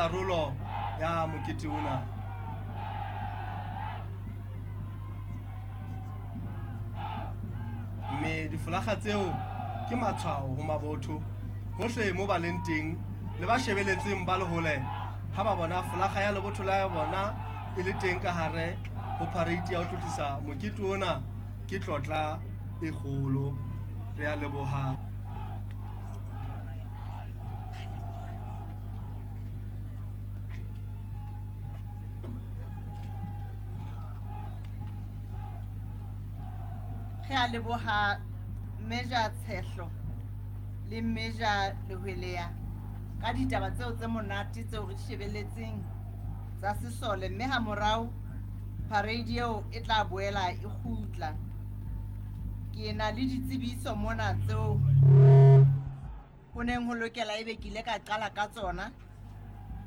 karolo ya mokete ona. Mme difolakga tseo ke matshwao ho mabotho hohle mo ba leng teng le ba shebeletseng ba le hole ha ba bona folakga ya lebotho la bona e le teng ka hare ho parade ya ho tlotlisa mokete ona ke tlotla e kgolo. Re a leboha. Re a leboha Major Tshehlo le Major Lehwelea ka ditaba tseo tse monate tseo re di shebelletseng tsa sesole mme ha morao parade eo e tla boela e kgutla. Ke na le ditsebiso mona tseo ho neng ho lokela ebe ke ile ka qala ka tsona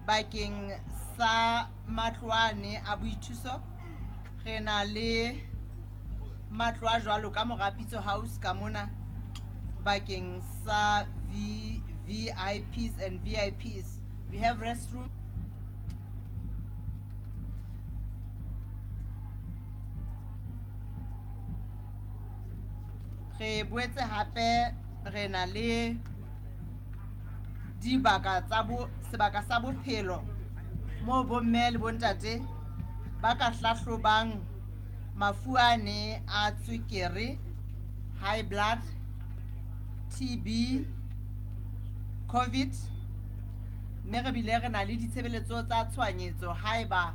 bakeng sa matlo ane a boithuso. Re na le matlo a jwalo ka Morapitso House ka mona bakeng sa VVIPs and VIPs. We have restroom. Re boetse hape re na le dibaka tsa bo sebaka sa bophelo moo bomme le bontate ba ka hlahlobang mafu ane a tswekere, high blood, TB, Covid, mme re bile re na le ditshebeletso tsa tshohanyetso haeba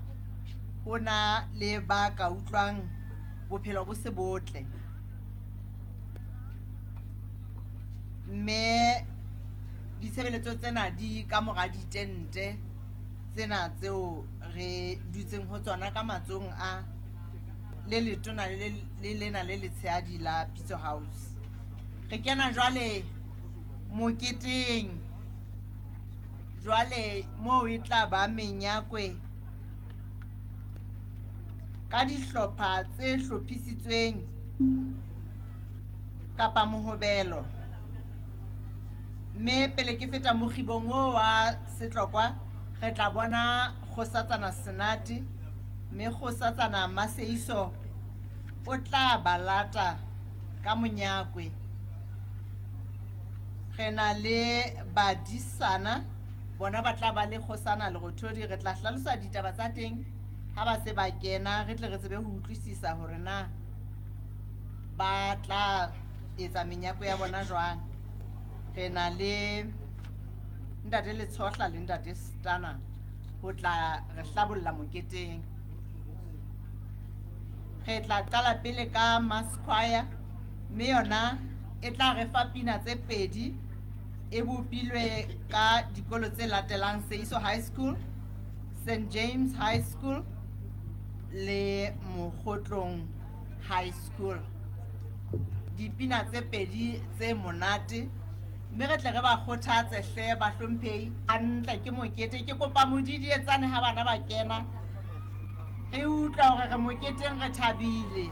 ho na le ba ka utlwang bophelo bo se botle. Mme ditshebeletso tsena di ka mora ditente tsena tseo re dutseng ho tsona ka matsohong a le letona le le lena le letshehadi la Pitso House. Re kena jwale moketeng jwale moo e tla ba menyakwe ka dihlopha tse hlophisitsweng kapa mohobelo. Mme pele ke feta mokgibong oo wa setlokwa, re tla bona Kgosatsana Senate, mme Kgosatsana Maseiso o tla ba lata ka monyakwe. Re na le badisana, bona ba tla ba le Kgosana Lerothodi. Re tla hlalosa ditaba tsa teng ha ba se ba kena, re tle re tsebe ho utlwisisa hore na ba tla etsa menyako ya bona jwang. Re na le ntate Letshohla le ntate Stana ho tla re hlabolla moketeng. Re tla qala pele ka mass choir, mme yona e tla re fa pina tse pedi e bopilwe ka dikolo tse latelang: Seiso High School, St James High School le Mokgotlong High School. Dipina tse pedi tse monate, mme re tle re ba kgothatse hle bahlomphehi. Hantle ke mokete, ke kopa modidietsane ha bana ba kena, re utlwa hore re moketeng, re thabile.